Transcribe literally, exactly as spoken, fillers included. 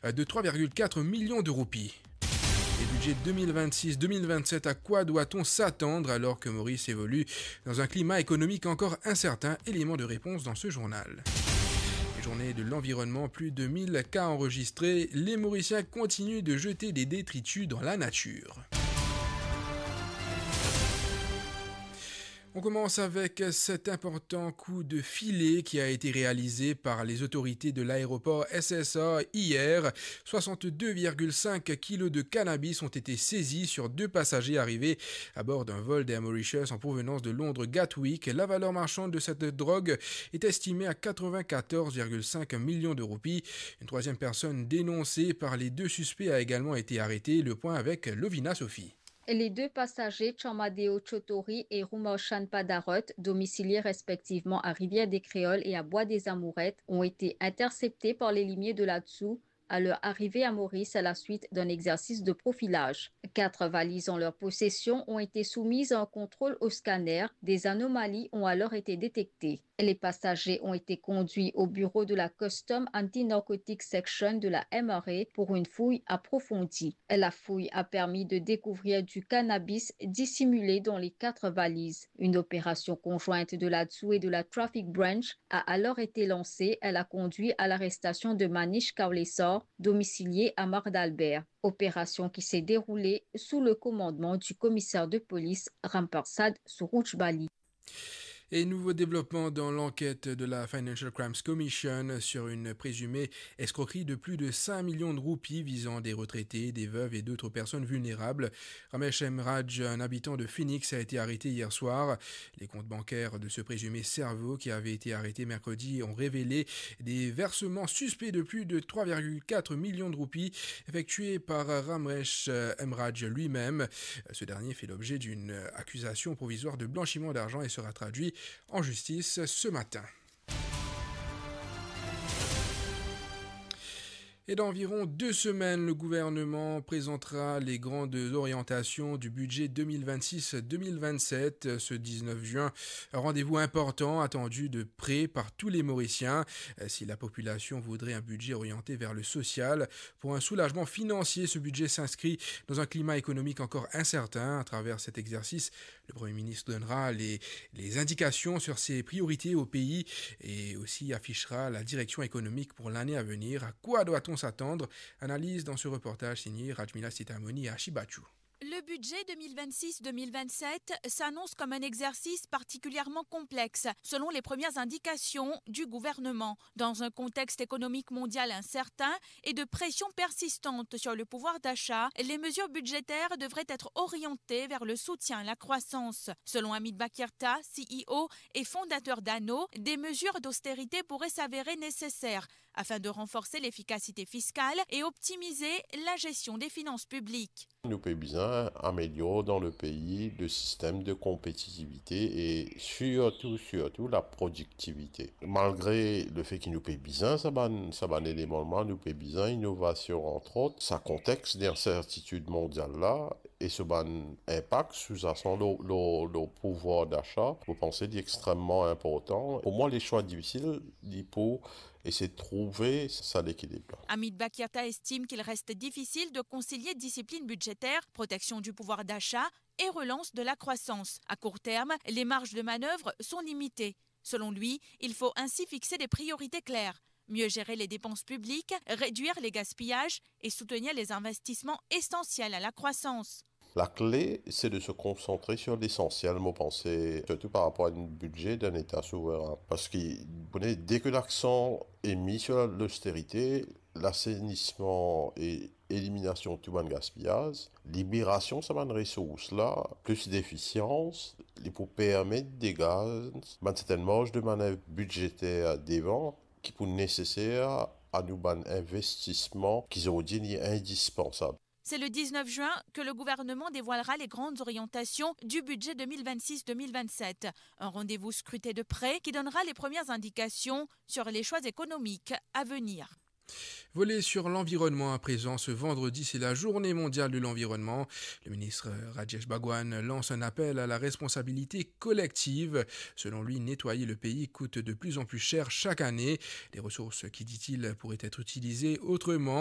de trois virgule quatre millions de roupies. Et budget deux mille vingt-six deux mille vingt-sept, à quoi doit-on s'attendre alors que Maurice évolue dans un climat économique encore incertain ? Élément de réponse dans ce journal. Et journée de l'environnement, plus de mille cas enregistrés. Les Mauriciens continuent de jeter des détritus dans la nature. On commence avec cet important coup de filet qui a été réalisé par les autorités de l'aéroport S S A hier. Soixante-deux virgule cinq kilos de cannabis ont été saisis sur deux passagers arrivés à bord d'un vol d'Air Mauritius en provenance de Londres Gatwick. La valeur marchande de cette drogue est estimée à quatre-vingt-quatorze virgule cinq millions de roupies. Une troisième personne dénoncée par les deux suspects a également été arrêtée. Le point avec Lovina Sophie. Les deux passagers, Chamadeo Chotori et Rumarshan Padarot, domiciliés respectivement à Rivière-des-Créoles et à Bois-des-Amourettes, ont été interceptés par les limiers de la DSU à leur arrivée à Maurice à la suite d'un exercice de profilage. Quatre valises en leur possession ont été soumises à un contrôle au scanner. Des anomalies ont alors été détectées. Les passagers ont été conduits au bureau de la Custom Anti-Narcotics Section de la M R A pour une fouille approfondie. La fouille a permis de découvrir du cannabis dissimulé dans les quatre valises. Une opération conjointe de la DSU et de la Traffic Branch a alors été lancée. Elle a conduit à l'arrestation de Manish Kaulesar, domicilié à Mare d'Albert. Opération qui s'est déroulée sous le commandement du commissaire de police Ramparsad Suruchbali. Et nouveau développement dans l'enquête de la Financial Crimes Commission sur une présumée escroquerie de plus de cinq millions de roupies visant des retraités, des veuves et d'autres personnes vulnérables. Ramesh Emraj, un habitant de Phoenix, a été arrêté hier soir. Les comptes bancaires de ce présumé cerveau qui avait été arrêté mercredi ont révélé des versements suspects de plus de trois virgule quatre millions de roupies effectués par Ramesh Emraj lui-même. Ce dernier fait l'objet d'une accusation provisoire de blanchiment d'argent et sera traduit en justice ce matin. Et dans environ deux semaines, le gouvernement présentera les grandes orientations du budget deux mille vingt-six deux mille vingt-sept. Ce dix-neuf juin, un rendez-vous important attendu de près par tous les Mauriciens. Si la population voudrait un budget orienté vers le social, pour un soulagement financier, ce budget s'inscrit dans un climat économique encore incertain. À travers cet exercice, le Premier ministre donnera les, les indications sur ses priorités au pays et aussi affichera la direction économique pour l'année à venir. À quoi doit-on s'attendre ? Analyse dans ce reportage signé Rajmila Sitamoni et Ashi Bachou. Le budget deux mille vingt-six deux mille vingt-sept s'annonce comme un exercice particulièrement complexe, selon les premières indications du gouvernement. Dans un contexte économique mondial incertain et de pression persistante sur le pouvoir d'achat, les mesures budgétaires devraient être orientées vers le soutien à la croissance. Selon Amit Bakirta, C E O et fondateur d'Ano, des mesures d'austérité pourraient s'avérer nécessaires afin de renforcer l'efficacité fiscale et optimiser la gestion des finances publiques. Nou pe bizin amelior dan le pei le sistem de konpetitivite e sirtou, sirtou la prodiktivite. Malgre le fe ki nou pe bizin sa bann, sa bann eleman la, nou pe bizin inovasion, antrot, sa kontex de insertitid mondial la e so bann inpak souzasan lor, lor, lor pouvwar dasa, mo panse li extreman inportan. Pou mwa, le swa difisil, li pou esey trouve sa lekilib la. Amit Bakirta estime qu'il reste difficile de concilier discipline budgétaire, protection du pouvoir d'achat et relance de la croissance. À court terme, les marges de manœuvre sont limitées. Selon lui, il faut ainsi fixer des priorités claires, mieux gérer les dépenses publiques, réduire les gaspillages et soutenir les investissements essentiels à la croissance. Lakle, se de se konsantre sir lesansiel, mo panse, sirtou par rapor a enn bidze dan Leta souverin. Parski, pou ne, deki laksan e mi sir losterite, lasenisman e eliminasion tou bann gaspiyaz, liberasion sa bann resours la, plis defisians, li pou permet degaz bann sertenn marz de manev bidzeter devan, ki pou neseser a nou bann investisman ki zordi li indispansab. C'est le dix-neuf juin que le gouvernement dévoilera les grandes orientations du budget deux mille vingt-six deux mille vingt-sept. Un rendez-vous scruté de près qui donnera les premières indications sur les choix économiques à venir. Volet sur l'environnement à présent. Ce vendredi, c'est la journée mondiale de l'environnement. Le ministre Rajesh Bhagwan lance un appel à la responsabilité collective. Selon lui, nettoyer le pays coûte de plus en plus cher chaque année. Les ressources qui, dit-il, pourraient être utilisées autrement